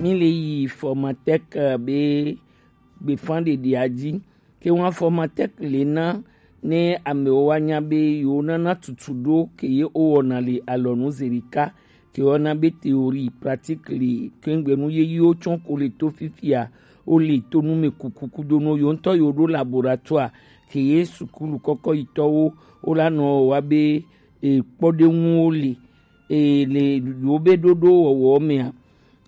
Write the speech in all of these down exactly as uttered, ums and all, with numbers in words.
Mi le yi Formatec be gbefan ɖeɖea ji. Ke ŋu Formatec le na ne amewo wa nya be yewo nana tutu ɖo ke ye wo wɔna le alɔnu zeɖeka, ke wɔna be théorie, pratique le, ke ŋgbe nu yeyiwo tsɔ ko le to fifia, wo le to nu me kuku kudo no yewo ŋutɔ yewo ɖo laboratoire, ke ye sukulu kɔkɔ yitɔwo wo la nɔ wa be e, kpɔɖeŋuwo le, e, le yewo be ɖoɖo wɔwɔ mea,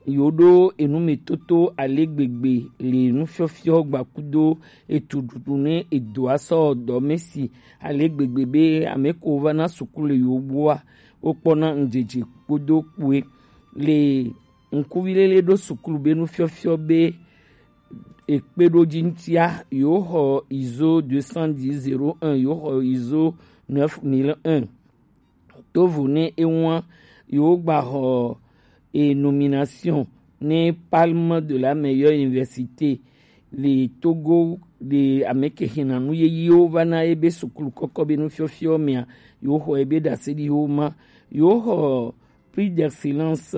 yewo ɖo enumetoto ale gbegbe le nufiɔfiɔ gbakudo etuɖuɖu ne edoa sɔ dɔ me si ale gbegbe be ame ko va na sukulu le yewo gbɔa, wokpɔna ŋdzedze kpodo kpoe le ŋkuvi lele ɖo sukulu be nufiɔfiɔ be ekpe ɖo dzi ŋutia, yewo xɔ ISO deux cent dix zéro un, yewo xɔ ISO neuf mille un. Tovo ne ewa yewo gba xɔ e nomination ne palme de la meilleure université le Togo, le ame ke xena nu yeyiwo va na ebe sukulu kɔkɔ be nufiɔfiɔ mea, yewo xɔ ebe ɖaseɖiwo ma, yewo xɔ prix d'excellence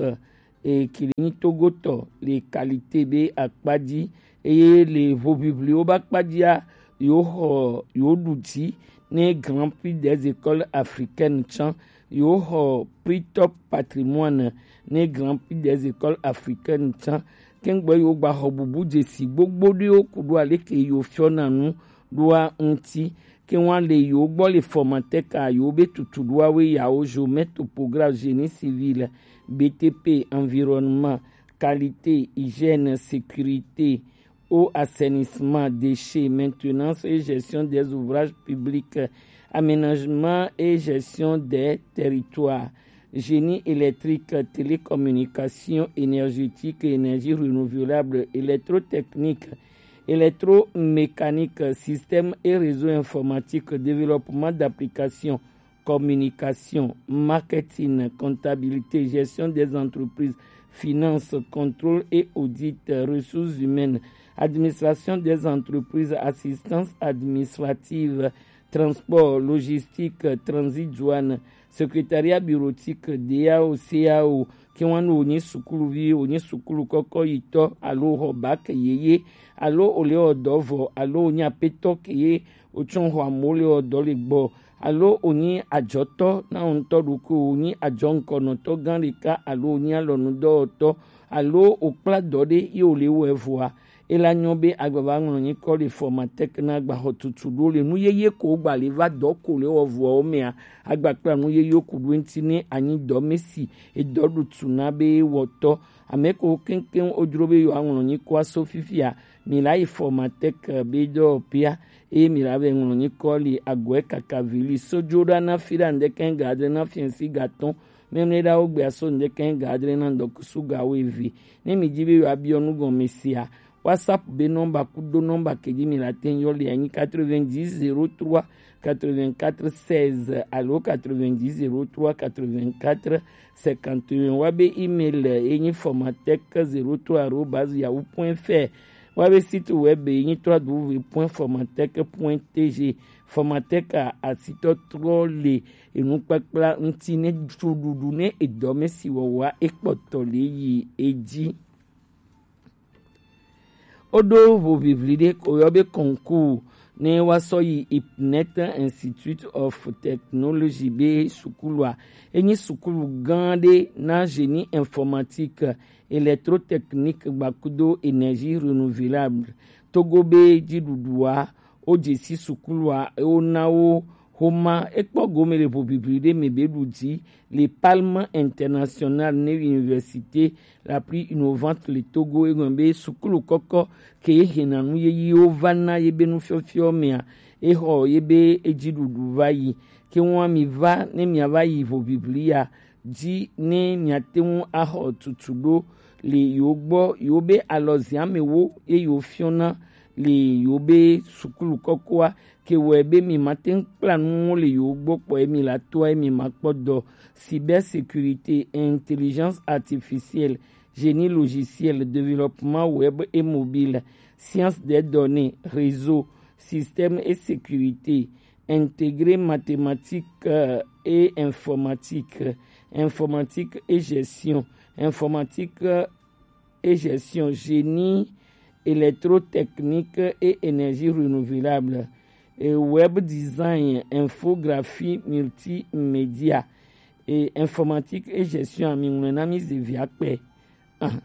e, ke le nyi Togotɔ le qualité be akpa ji, eye le hoʋiʋliwo be akpa jia, yewo xɔ, yewo ɖu dzi ne Grand Prix des écoles africaines tsã, yewo xɔ prix top patrimoine ne Grand Prix des écoles africaines tsã. Kengbe yewo gba xɔ bubu dzesi gbogbo ɖewo ku ɖo aleke yewo fiɔna nu ɖoa ŋuti. Ke ŋua le yewo gbɔ le Formatec a yewo be tutu ɖoa we yawo géomètre, topographe, génie civil, BTP, environnement, qualité, hygiène, sécurité, eau, assainissement, déchets, maintenance et gestion des ouvrages publics, aménagement et gestion des territoires, génie électrique, télécommunication, énergétique, énergie renouvelable, électrotechnique, électromécanique, système et réseau informatique, développement d'applications, communication, marketing, comptabilité, gestion des entreprises, finance, contrôle et audit, ressources humaines, administration des entreprises, assistance administrative, transport, logistique, transit, douane, secrétariat bureautique, DAO, CAO, ke ŋua ne wònye sukuluvi, wònye sukulu kɔkɔ yitɔ, alo xɔ bac yeye, alo wòle wɔ dɔ vɔ, alo wònye apetɔ ke ye wotsɔ xɔ amewo le wɔ dɔ le gbɔ, alo wònye adzɔtɔ na wo ŋutɔ ɖokui, wònye adzɔŋkɔnɔtɔ gã ɖeka, alo wònye alɔnudɔwɔtɔ, alo wòkpla dɔ ɖe ye wòle wɔe vɔa, ela nyɔ be agbava ŋlɔ nyikɔ le Formatec na agbaxɔ tutu ɖo le nu yeye ko gba le va dɔ ko le wɔ vɔwo mea, agba kpla nu yeye ku ɖo ŋuti ne anyi dɔ me si edɔ ɖu tu na be wɔtɔ. Ame ko keŋkeŋ wodro be yewoaŋlɔ nyikɔa so fifia, mi la yi Formatec be dɔwɔƒea, eye mi la vɛ ŋlɔ nyikɔ li agɔe kaka vi li so dzo ɖa na fi ɖa ŋdɛkɛ ga adre na fiɛnsi ga tɔn. Mɛmlɛ ɖa wo gbea so ŋdɛkɛ ga adre na ŋdɔkusu ga wo eve. Ne mi di be yewoabiɔ nu gɔme sia, WhatsApp be nɔmba kudo nɔmba ke dzi mi la te yɔ li anyi quatre-vingt-dix zéro trois quatre-vingt-quatre seize alo quatre-vingt-dix zéro trois quatre-vingt-quatre cinquante et un. Wa be email ye nyi formatec zéro trois arobase yahoo point fr. Wa be site web ye nyi trois w point formatec point t g. Formatec a asitɔ trɔ le enukpakpla ŋuti ne tso ɖuɖu ne edɔme si wɔwɔa ekpɔtɔ le yi edzi. Woɖo hoʋiʋli ɖe ko yɔ be concours ne wa sɔ yi IPNET, Institute of Technology be sukulua. Enyi sukulu gã ɖe na génie informatique, électrotechnique gbakudo énergie renouvelable. Togo be dziɖuɖua, wo dze si sukulua, wo na wo xoma, ekpɔ gome le hoʋiʋli ɖe me be ɖu dzi le Palme International ne Université la plus innovante le Togo, egɔme be sukulu kɔkɔ ke ye hena nu yeyiwo va na ye be nufiɔfiɔ mea, exɔ ye be edziɖuɖu va yi. Ke ŋua mi va ne mia va yi hoʋiʋli ya dzi ne miate ŋu axɔ tutu ɖo le yewo gbɔ, yewo be alɔziamewo ye yewo fiɔna le yewo be sukulu kɔkɔa, ke wɔe be mi mate ŋu kpla nuwo le yewo gbɔ kpɔ ye mi la toa ye mi ma kpɔ dɔ. Cybersécurité, intelligence artificielle, génie logiciel, développement web et mobile, science des données, réseau, système et sécurité, intégrer mathématiques, euh, et informatique, informatique et gestion, informatique, euh, et gestion, génie électrotechnique et énergie renouvelable, et web design, infographie multimédia et informatique et gestion. Ami ŋlɔe na mi ze via kpɛ. Ahan.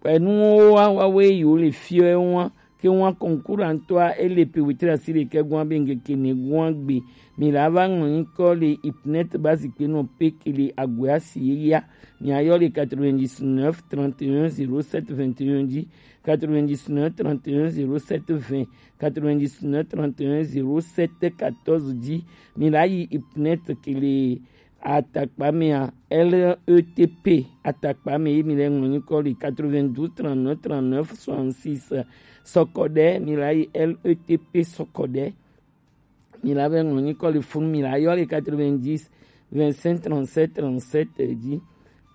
Kpɛnuwo wa wa we yo le fiɔ e wa ke wa concours antɔa ele pe wetri asi le kɛ gwa be ŋkeke ne gwa gbe. Mi la va ŋlɔ nyikɔ le ipnet ba zikpe nɔ pe ke le agwe asi ye ya. Mi ayɔ le quatre-vingt-dix-neuf trente et un zéro sept vingt et un dix, quatre-vingt-dix-neuf trente et un zéro sept vingt, quatre-vingt-dix-neuf trente et un zéro sept quatorze dix. Mi la yi ipnet ke le atakpa mea, L E T P atakpa me ye mi le ŋlɔ nyikɔ le quatre-vingt-douze trente-neuf trente-neuf soixante-six. Sɔkɔɖɛ mi la yi L E T P sɔkɔɖɛ. Mi la be ŋlɔ nyikɔ le funu mi la yɔ le quatre-vingt-dix vingt-cinq trente-sept trente-sept dzi.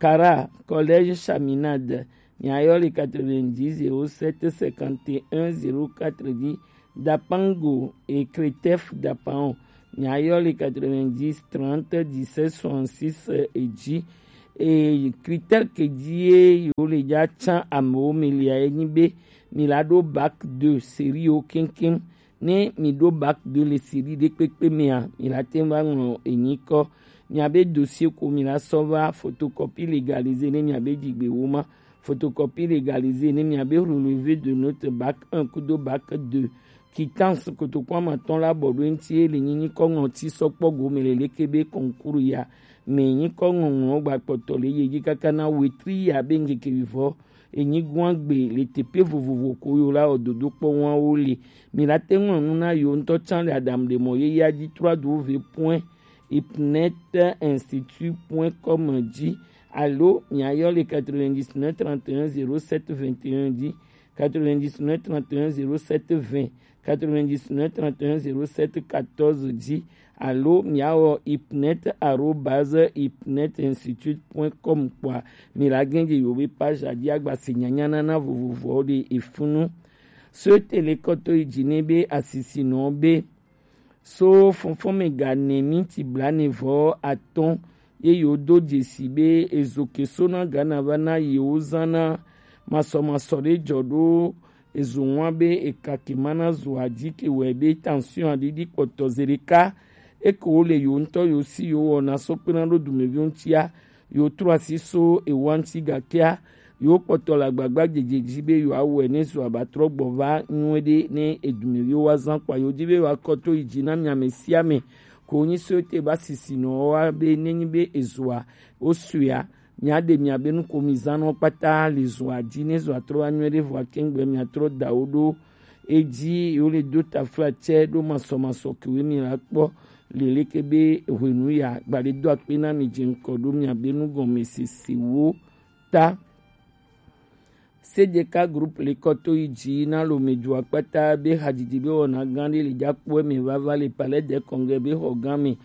Kara Collège Chaminade, mi ayɔ le quatre-vingt-dix zéro sept cinquante et un zéro quatre dzi. Dapango et Cretef Dapan, mi ayɔ le quatre-vingt-dix trente dix-sept soixante-six dzi. Et critère ke dzi ye yo le dza tsan amewo mi lia ye nyi be mi la ɖo bac deux série yo keŋkeŋ. Ne mi ɖo bac deux le série ɖe kpekpe mea, mi la te va ŋlɔ enyikɔ. Mia be dossier ko mi la sɔ va photocopie légalisé ne mia be dzigbe wo ma. Photocopie légalisé ne mia be relevé de note bac un kudo bac deux. Quittance kotoku amatɔn la bɔ ɖo eŋti ye le nyi nyikɔ ŋlɔti sɔ kpɔ gome le leke be concours ya me nyikɔ ŋlɔŋlɔ gba kpɔtɔ le ye dzi kaka na wetri ya be ŋkeke vivɔ enyi gua gbe le teƒe vovovo ko yo la wɔ dodo kpɔ ŋua wo le. Mi la te ŋlɔ nu na yo ŋutɔ tsã le adam le mɔ ye ya dzi trois w point ipnet institut point com dzi alo mi ayɔ le quatre-vingt-dix-neuf trente et un zéro sept vingt et un dzi, quatre-vingt-dix-neuf trente et un zéro sept vingt, quatre-vingt-dix-neuf trente et un zéro sept quatorze dzi alo mi awɔ ipnet arobase ipnet institut point com kpɔa, mi la gɛn dze yo be page dzi agba se nyanya nana vovovowo ɖe efunu. So tele kɔtɔ yi dzi ne be asisinɔ be so fɔnfɔnmɛ ga nɛ minti blaene vɔ atɔn ye yewo do dzesi be ezo ke so na Ghana va na yewo zan na masɔmasɔ ɖe jɔ ɖo ezo ŋua be eka ke ma na zoa dzi ke wɛ be tension aɖiɖi kpɔtɔ ze ɖeka eke wo le yewo ŋutɔ yewo si yewo wɔna so kpena ɖo dumeviwo ŋutia yewo trɔ asi so ewa ŋuti gakea yewo kpɔtɔ le agbagba dzedze dzi be yewoawɔe ne zo abatrɔ gbɔ va nyuie ɖe ne edumeviwo wa zan kpɔa yewo dzi be yewoakɔ to yi dzi na mi ame sia ame ko wonyi so ete ba sisinɔwo wa be nenyi be ezoa wo suea miaɖe miabe nukomizanwo kpata le zoa dzi ne zoa trɔ wa nyuie ɖe vɔa kengbe miatrɔ da wo ɖo edzi yewo le do taflatsɛ ɖo masɔmasɔ kewoe mi la kpɔ le leke be hwenu ya gbaɖe do akpe na mi dze ŋkɔ ɖo miabe nugɔmesesewo ta. Sedeka group le kɔto yi dzi na lome dua kpata be hadzidzi be wɔna gã ɖe le dza kpɔe me vava le palais de congrès be xɔ gã me.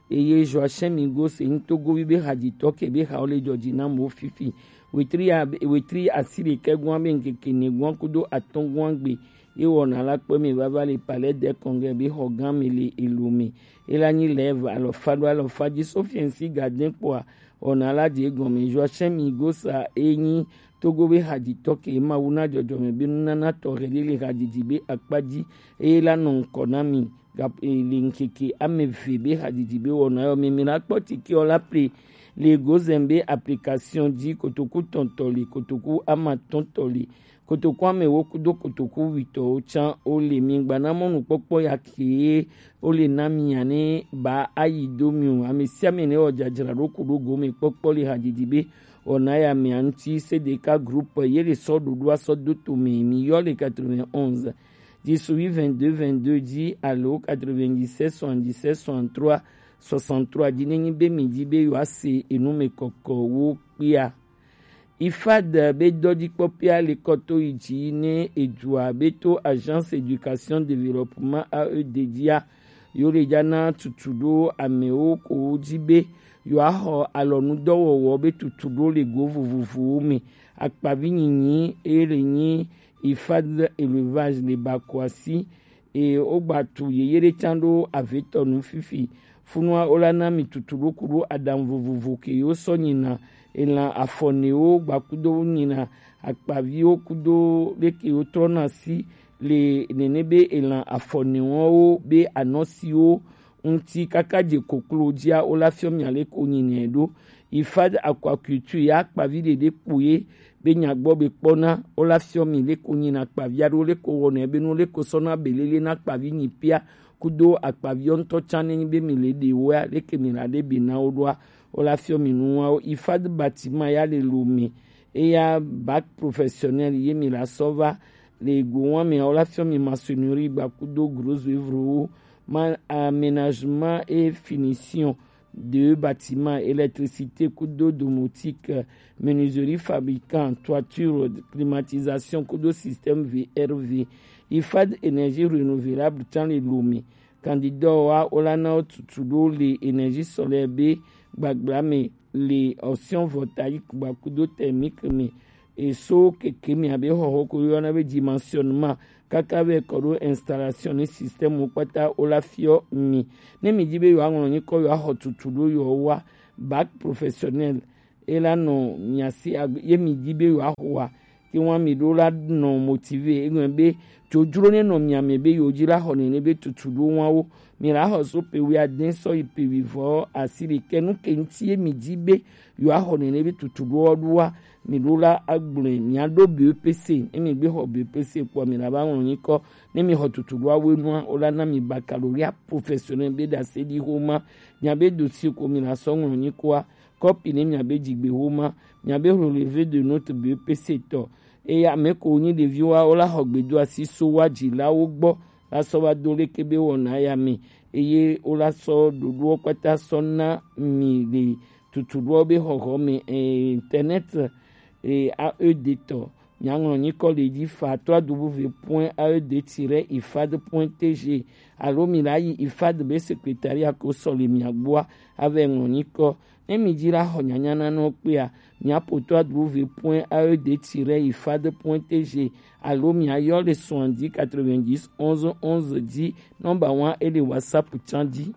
Eye Joachim Migo se ŋutogovi be hadzitɔ ke be hawo le dzɔdzi na mo fifi. Wetri a-, wetri asi ɖekɛ gɔ̃a be ŋkeke ne gɔ̃a kudo atɔ̃ gɔ̃a gbe ye wɔna la kpɔe me vava le palais de congrès be xɔ gã me le elo me. Ela nyi lève alɔfa ɖo alɔfa dzi so fiɛnsi gadin kpɔa wɔna la dze egɔme. Joachim Migo sa enyi Togo be hadzitɔ ke Mawu na dzɔdzɔme be nunana tɔxɛ ɖe le hadzidzi be akpa dzi eye la nɔ ŋkɔ na mi ga-, e, le ŋkeke ame eve be hadzidzi be wɔna yɔ me. Mi la kpɔ tikewo la ple le Gozen be application dzi kotoku tɔntɔ li, kotoku amatɔntɔ li, kotoku amewo kudo kotoku witɔwo tsã wo le. Mi gba na mɔnukpɔkpɔ ya ke wo le na mi ya ne ba ayi do mi o. Ame sia ame ne wɔ dzadzraɖo ku ɖo gome kpɔkpɔ le hadzidzi be wɔna ya mea ŋuti Sedeka group ye le sɔ ɖoɖoa sɔ do to me. Mi yɔ le quatre-vingt-onze dix-huit vingt-deux vingt-deux dzi alo quatre-vingt-dix-sept soixante-dix-sept soixante-trois soixante-trois dzi ne nyi be mi dzi be yewoa se enu me kɔkɔwo kpea. IFAD be dɔdzikpɔƒea le kɔto yi dzi ne edua be to Agence Éducation Développement A E D dzia, yewo le dza na tutu ɖo amewo ko dzi be yewoaxɔ alɔnudɔwɔwɔ be tutu ɖo le go vovovowo me. Akpavi nyinyi eye le nyi IFAD élevage le ba ko asi eye wogba tu yeye ɖe tsã ɖo avetɔ nu fifi. Funua wola na mi tutu ɖo ku ɖo aɖaŋu vovovo ke yewo sɔ nyina elan afɔnewo gbakudo nyina akpaviwo kudo leke wo trɔna si le nene be elan afɔnewo be anɔsiwo ŋuti kaka dze koklo dzia, wo la fiɔ mia leko nyinɛ ɖo. Ifad aquaculture ya akpavi ɖeɖe kpo ye be nya gbɔ be kpɔna, wo la fiɔ mi leko nyina akpavi aɖewo leko wɔnɛ be nu leko sɔna belele na akpavi nyi pia kudo akpaviwo ŋutɔ tsã nenyi be mi le ɖe woa, leke mi la ɖe be na wo ɖoa, wo la fiɔ mi nuwawo. Ifad bâtiment ya le Lomé, eya bac professionnel ye mi la sɔ va le go wa mi, wo la fiɔ mi maçonnerie gbakudo gros œuvre wo, ma aménagement et finition de bâtiment, électricité kudo domotique, menuiserie fabricant, toiture, climatisation kudo système V R V. Ifad énergie renouvelable tsã le Lomé. Candidat wa wo la na wo tutu ɖo le énergie solaire be gbagbla me le option voltaïque gbakudo thermique me. E so keke mi abe xɔxɔ ko yɔna be dimensionnement kaka vɛ kɔ ɖo installation ne système wo kpata wo la fiɔ mi. Ne mi di be yewoa ŋlɔ nyikɔ yewoa xɔ tutu ɖo yewoa bac professionnel e la nɔ mia si agbe ye mi di be yewoa xɔa ke wa mi ɖo la nɔ motivé e ŋlɔ be dzodzro ne nɔ mia me be yewo di la xɔ nene be tutu ɖo wa wo. Mi la xɔ so pe wi ade sɔ yi pe wi vɔ asi ɖekɛ nu ke ŋuti ye mi di be yewoa xɔ nene be tutu ɖo wa ɖo wa mi ɖo la agblɔe mia ɖo B E P C. Ne mi gbe xɔ B E P C kpɔ mi la va ŋlɔ nyikɔ. Ne mi xɔ tutu ɖo awo nua wo la na mi baccalauréat professionnel be ɖase ɖi xoma. Mia be dossier ko mi la sɔ ŋlɔ nyikɔa, kɔpi ne mia be dzigbe xoma, mia be relevé de note B E P C tɔ. Eye ame ko nyi ɖeviwoa wo la xɔ gbedoasi so wa dzilawo gbɔ la sɔ va do leke be wɔna ya me. Eye wo la sɔ ɖoɖowo kpata sɔ na mi le tutuɖowo be xɔxɔ me, eh, internet, eh, A E D tɔ. Miaŋlɔ nyikɔ le dzi fa trois W point A E D tiret ifad point T G alo mi la yi ifad be secrétariat ko sɔ le mia gbɔa ave ŋlɔ nyikɔ. Ne mi dzi la xɔ nyanya na nɔ kpea, mia po trois W point A E D tiret ifad point T G alo mia yɔ le soixante-dix quatre-vingt-dix onze onze dzi. Nɔmba wa e le WhatsApp tsã dzi.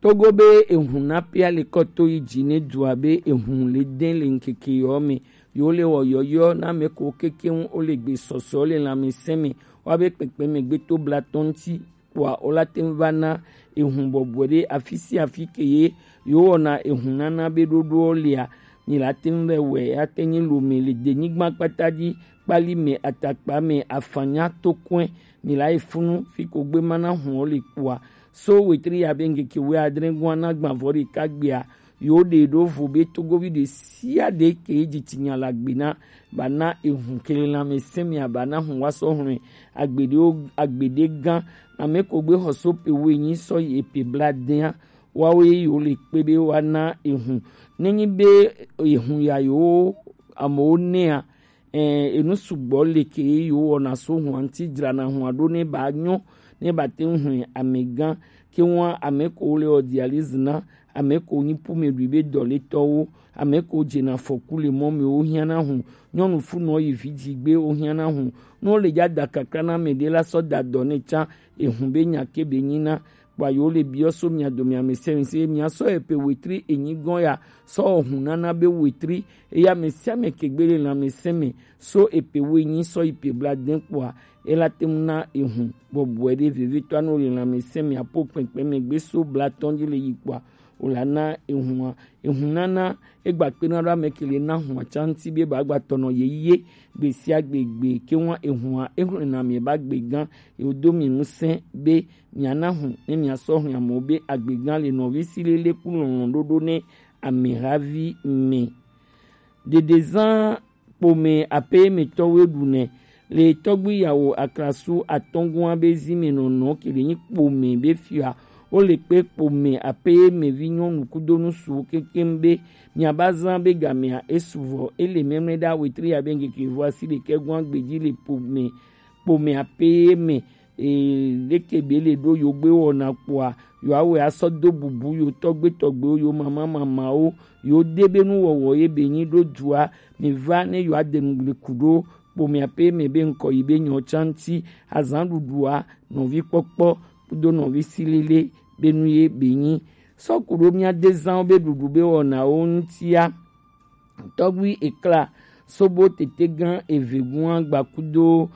Togo be ehun na pia le kɔ to yi dzi ne dua be ehun le dɛn le ŋkeke yɔ me. Yewo le wɔ yɔyɔ na ame ko kekeŋ wo le gbe sɔsɔ le lãmesẽ me. Wa be kpekpe me gbe to blatɔ ŋuti kpoa wo la te ŋu va na ehun bɔbɔe ɖe afi sia afi ke ye yewo wɔna ehun nana be ɖoɖoɔ lea. Mi la te ŋu vɛ wɛ ate nyi Lome le denyigba kpata dzi, kpali me, atakpa me, afanya, tokɔe, mi la yi funu fi ko gbe ma na hun wo le kpoa. So wetri ya be ŋkeke wuiadre gɔa na gbavɔ ɖeka gbea, yewo ɖe ɖo vo be togovi ɖe sia ɖe ke ye dzi tsinya le agbe na, ba na ehun ke le lãmesẽ mea, ba na hun wa sɔ hlɔ̃e. Agbeɖewo, agbeɖe gã, ame ko gbe xɔ so pe wuienyi sɔ yi epe bladea, woawo ye yewo le kpe be woana ehun. Nenyi be ehun ya yewo amewo nɛa, eh, enu sugbɔ le ke ye yewo wɔna so hua ŋuti, dzrana hua ɖo ne ba nyɔ, ne ba te ŋu hlɔ̃e amegã. Ke ŋua ame ko le wɔ dialyse na, ame ko nyi pumeɖui be dɔletɔwo, ame ko dzena afɔku le mɔ me wo hiã na hu, nyɔnu funɔ yi vi dzi gbe wo hiã na hu. Ne wo le dza da kakla na ame ɖe la sɔ da dɔ ne tsã, ehun be nya ke be nyi na. Kpoa yewo le biɔ so mia dome amesɛ̃mesẽ, mia sɔ epe wetri enyi gɔ̃ ya sɔ wɔ hun nana be wetri, eye ame sia ame ke gbe le lãmesẽ me so epe wuienyi sɔ yi pe bladẽ kpoa, e la te ŋu na ehun bɔbɔe ɖe vevitɔa ne wo le lãmesẽ mea po kpɛnkpɛn me gbe so blatɔ̃ dzi le yi kpoa, wo la na ehun a. Ehun nana e gba kpena ɖo ame ke le na hua tsã ŋuti be ba gba tɔnɔ ye ye gbe sia gbe gbe ke ŋua ehun a e hlɔ̃na mi ba gbe gã, e wo do mi ŋusẽ be mia na hu ne mia sɔ hlɔ̃ amewo be agbe gã le nɔvi si lele ku lɔlɔ̃ ɖoɖo ne ame havi me. Ɖeɖezã kpome aƒemetɔwoe ɖunɛ le tɔgbi yawo aklasu atɔ̃ gɔ̃a be zi me nɔnɔ ke le nyi kpome be fia. Wo le kpe kpome aƒemevi nyɔnu kudo nusuwo kekeŋ be miaba zã be gamea e suvɔ. E le mɛmlɛ ɖa wetri ya be ŋkeke vɔ asi ɖekɛ gɔ̃a gbe dzi le kpome, kpome aƒeme. Ee, leke be le ɖo yo gbe wɔna kpoa, yo awɛ asɔ do bubu yo tɔgbe tɔgbewo, yo mama mamawo, yo de be nuwɔwɔ ye be nyi ɖo dua. Mi va ne yo ade nu le ku ɖo kpomia pe me be ŋkɔ yi be nyɔ tsanti, azan ɖuɖua, nɔvi kpɔkpɔ kudo nɔvi silile be nu ye be nyi. sɔkuɖo mía dezanwo be ɖuɖu be wɔnawo ŋutia. Tɔgbi ekla sobo tetegan eve gua gbakudo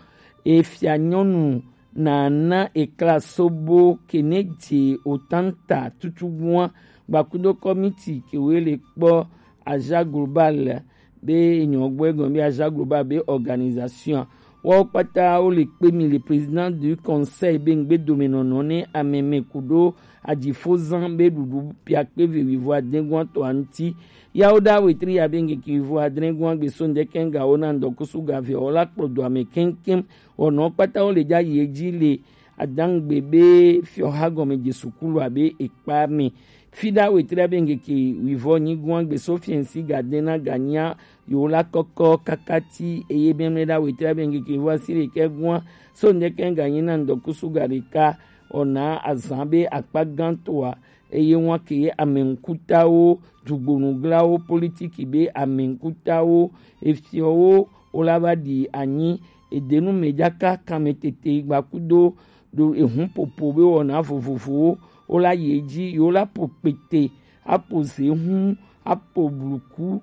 efia nyɔnu nana ekla sobo keneje otanta tutu gua gbakudo kɔmiti kewe le kpɔ Aja Global be enyɔ gbɔ egɔn be Aja Global be organisation. Wo kpata wo le kpe mi le président du conseil be ŋgbe domenɔnɔ ne ameme kudo ajifozan be ɖuɖu piakpe ve wivo adengua tɔ anti. Yawo da wetri ya be ŋgeke wivo adengua gbe so ŋdeke ŋga wo na ŋdɔkusu ga ve wo la kplɔ do ame keŋkeŋ. Wɔnɔ kpata wo le ja yi edzi le adangbe be fiɔha gɔme je sukulu abe ekpa me. Fida wetri abe ŋgeke wivɔ nyigua gbe so fiɛnsi ga dena ga nya yo la kɔkɔ kakati eye mɛmɛ da wetri abe ŋgeke wivɔ asi ɖekɛ gua so ŋdeke ga nyi na ŋdɔkusu ga ɖeka. Ona azan be akpa gãtɔa eye ŋua ke amɛŋkutawo, dugbonuglawo, politiki be amɛŋkutawo, efiɔwo wo la va ɖi anyi edenu me jaka kanme tete gbakudo ɖo ehun popo be wɔna vovovowo wo la yi edzi yo la po kpete apo zehun apo bluku